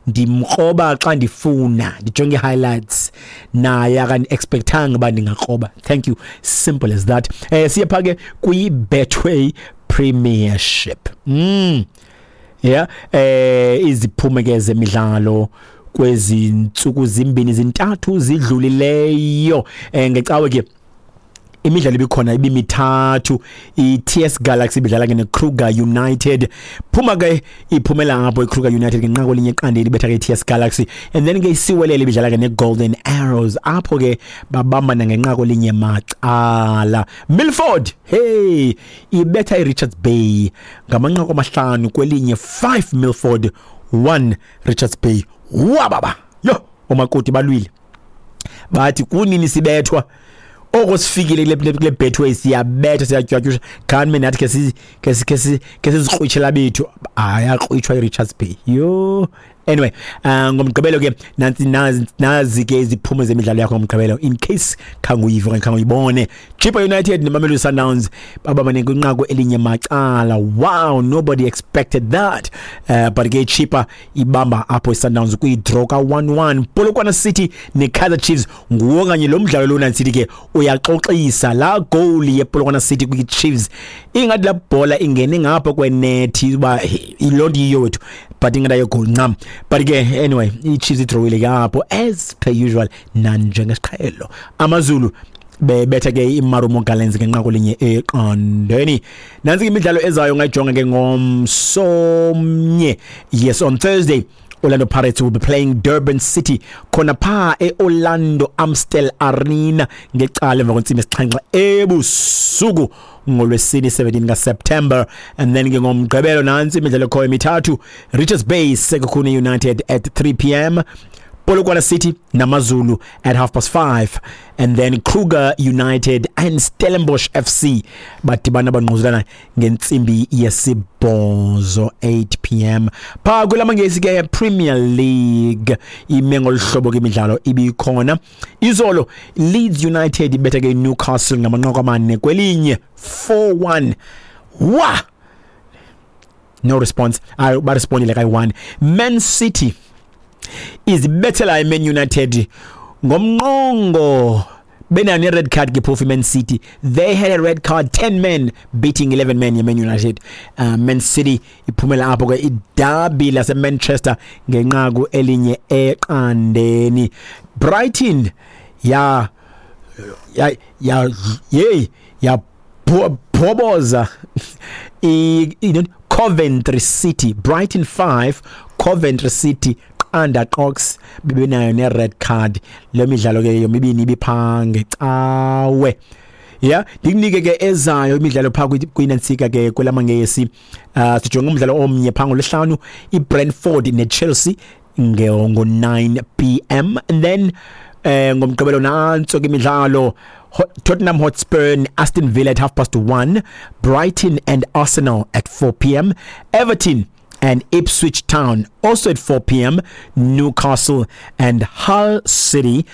Ndimkroba xa ndifuna ndijonge highlights, naye akandi-expectanga uba ndingakroba. Thank you, simple as that. Siye phaa ke kwi-Betway Premiership. Yeah, iziphumo ke zemidlalo kwezi ntsuku zimbini zintathu zidlulileyo. Ngecawe ke imidlalo ibikhona ibimithathu. I-TS Galaxy ibidlala ke neKruger United. Phuma ke iphumela apho iKruger United ngenqaku elinye eqandeni, ibetha ke i-TS Galaxy. And then ke iSiwelele ibidlala ke neGolden Arrows, apho ke babambana ngenqaku elinye macala. Milford, hey, ibetha iRichards Bay ngamanqaku 5-1, 5 Milford, 1 Richards Bay. Wababa yo, omakoti balwile, bathi kunini sibethwa, oko sifikile kule Betway siyabetha, siyatywatyusha. Khani nathi ke sizikrwitshela bethu, ayakrwitshwa iRichards Bay. Yo, anyway, ngomgqibelo ke nansi, nazi ke iziphumo zemidlalo yakho ngomgqibelo, in case khange uyive okanye khange uyibone. Chippa United neMamelodi Sundowns babambane kwinqaku elinye macala. Wow, nobody expected that, but ke Chippa ibamba apho iSundowns kwi-draw ka-1-1. Polokwane City neKaizer Chiefs, nguwo kanye lo mdlalo lona nsithi ke uyaxoxisa. La goal yePolokwane City kwi-Chiefs, ingathi la bhola ingene ngapha kwenethi uba iloo nto yiyo wethu, but ingathi ayo-goal ncam. But ke anyway, i-Chiefs idrowile ke apho as per usual, nanjengesiqhelo. AmaZulu bebetha ke iMarumo Gallants ngenqaku 1-0. Nansi imidlalo ezayo, ngayijonga ke ngomsomnye. Yes, on Thursday Orlando Pirates will be playing Durban City khona pha eOrlando Amstel Arena ngecala emva kwentsimbi 7 ebusuku ngolwesine 17 kaSeptember. And then ke ngomgqibelo nansi imidlalo ekhoyo emithathu: Richards Bay Sekhukhune United at 3 p.m., Polokwane City naMazulu at 5:30, and then Kruger United and Stellenbosch FC badibana bangquzulana ngentsimbi 8, 8 p.m. Pha kulamangesi ke, Premier League, ime ngoluhlobo ke imidlalo ibikhona izolo. Leeds United ibetha ke Newcastle ngamanqaku 4-1, 4-1. Wa no response, ayi, barespondile kayi-1. Man City izibethela iMan United ngomnqongo, benayo ne-red card ke phofu iMan City. They had a red card, 10 men beating 11 men yeMan United. Man City iphumela apho ke idabi laseManchester ngenqaku 1-0. Brighton ya ya ya yey ya bhoboza i Coventry City, Brighton 5, Coventry City 0 qox, bebenayo ne-red card. Le midlalo ke yomibini ibipha ngecawe. Yeah, ndikunike ke ezayo imidlalo pha kwinantsika ke kwelamangesi. Sijonge umdlalo omnye pha ngolwesihlanu, iBrentford neChelsea ngo 9 p.m. And then ngomgqibelo nantso ke imidlalo: Tottenham Hotspur and Aston Villa at 1:30, Brighton and Arsenal at 4 p.m., Everton and Ipswich Town also at 4 p.m., Newcastle and Hull City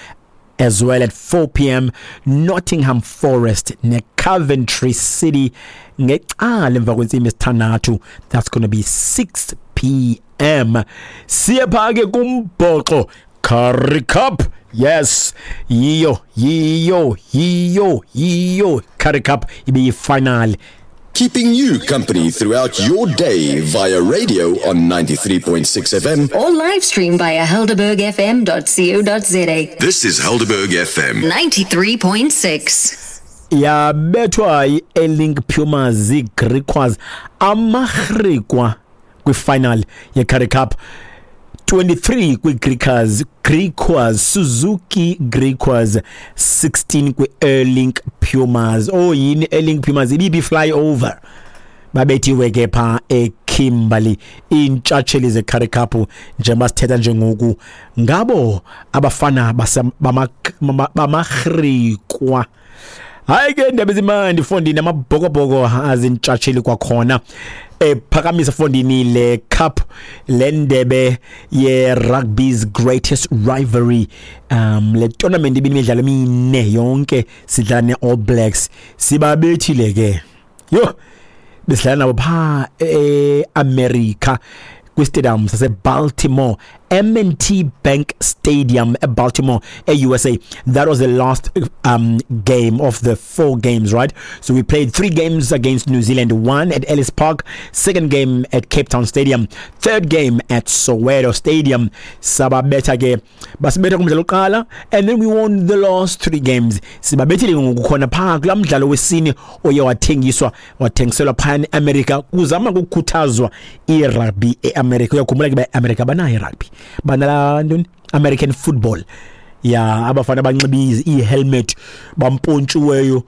as well at 4 p.m., Nottingham Forest neCoventry City ngecala emva kwentsimbi 6, that's going to be 6 p.m. Siye pha ke kumbhoxo, Currie Cup. Yes, yiyo yiyo yiyo yiyo Currie Cup, ibiyi-final. Keeping you company throughout your day via radio on 93.6 FM. Or live stream via helderbergfm.co.za. This is Helderberg FM. 93.6. Yabethwa i-Airlink Pumas ziGriquas, amaGriqua, kwifinal ye-Currie Cup, 23 kwi-Griquas, Griquas Suzuki Griquas, 16 kwi-Airlink Pumas. Oh yini, Airlink Pumas ibibi flyover, babethiwe ke pha eKimberley iintshatsheli zeCurrie Cup. Njengoba sithetha njengoku ngabo abafana bamaGriqua. Hayi ke, indaba ezimandi fondini, amabhokobhoko azintshatsheli kwakhona, ephakamisa fondini le cup, le ndebe ye rugby's greatest rivalry. Le tournament ibimidlalo emine yonke sidlala ne-All Blacks, sibabethile ke. Yo, besidlala nabo pha e-America. Kwistadium saseBaltimore, M&T Bank Stadium eBaltimore, eUSA. That was the last game of the four games, right? So we played three games against New Zealand, one at Ellis Park, second game at Cape Town Stadium, third game at Soweto Stadium. Sababetha ke, basibetha kumdlalo oqala, and then we won the last three games. Sibabethile ngoku khona phaa kulaa mdlalo wesine oye wathengiswa, wathengiselwa phaya eAmerica, kuzama kukhuthazwa irugby eAmerica. Uyakhumbula ke uba eAmerica banayo irugby, banala ntoni, American football ya, abafana banxiba ii-helmet, bampontshiweyo,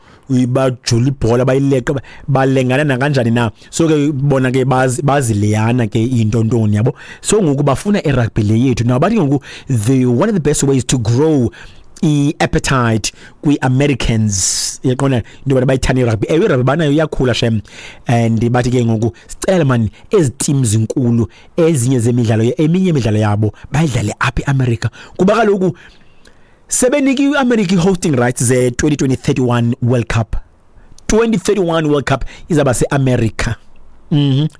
bajula ibhola, bayileqa, balengana nakanjani na. So ke bona ke bazileyana ke into ntoni yabo. So ngoku bafuna irugby le yethu. Now bathi ngoku the one of the best ways to grow i-appetite kwi-Americans, yaqonda into yobana bayithande irugby. Ewe, irugby banayo, iyakhula shem. And bathi ke ngoku sicela mani ezi team zinkulu, ezinye zemidlalo, eminye imidlalo yabo bayidlale apha eAmerica, kuba kaloku sebenike iAmerica i-hosting rights ze-2031 World Cup. 2031 World Cup izaba seAmerica.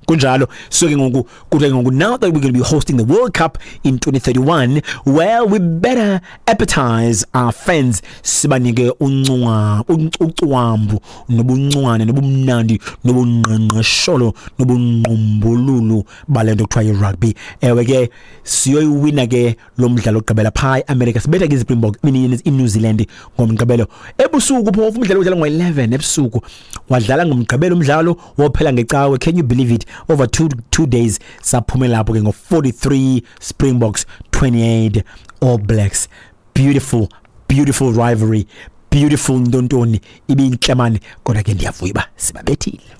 Kunjalo. So ke ngoku kuthiwa ke ngoku, now that we're going to be hosting the World Cup in 2031, well, we better appetize our fans, sibanike uncwa ucwambu nobuncwane nobumnandi nobungqengqesholo nobungqumbululu bale nto kuthiwa yi-rugby. Ewe ke, siyoyiwina ke lo mdlalo ogqibela phaa eAmerica. Sibetha ke iSpringbok, iNew Zealand ngoMgqibelo ebusuku. Phofu umdlalo udlala ngo-11 ebusuku, wadlala ngoMgqibelo umdlalo, wophela ngeCawe. Can you believe it? Over 2 days. Saphumela lapho ke ngo-43 Springboks, 28 All Blacks. Beautiful, beautiful rivalry, beautiful ntontoni, ibintle mani. Kodwa ke ndiyavuya uba sibabethile.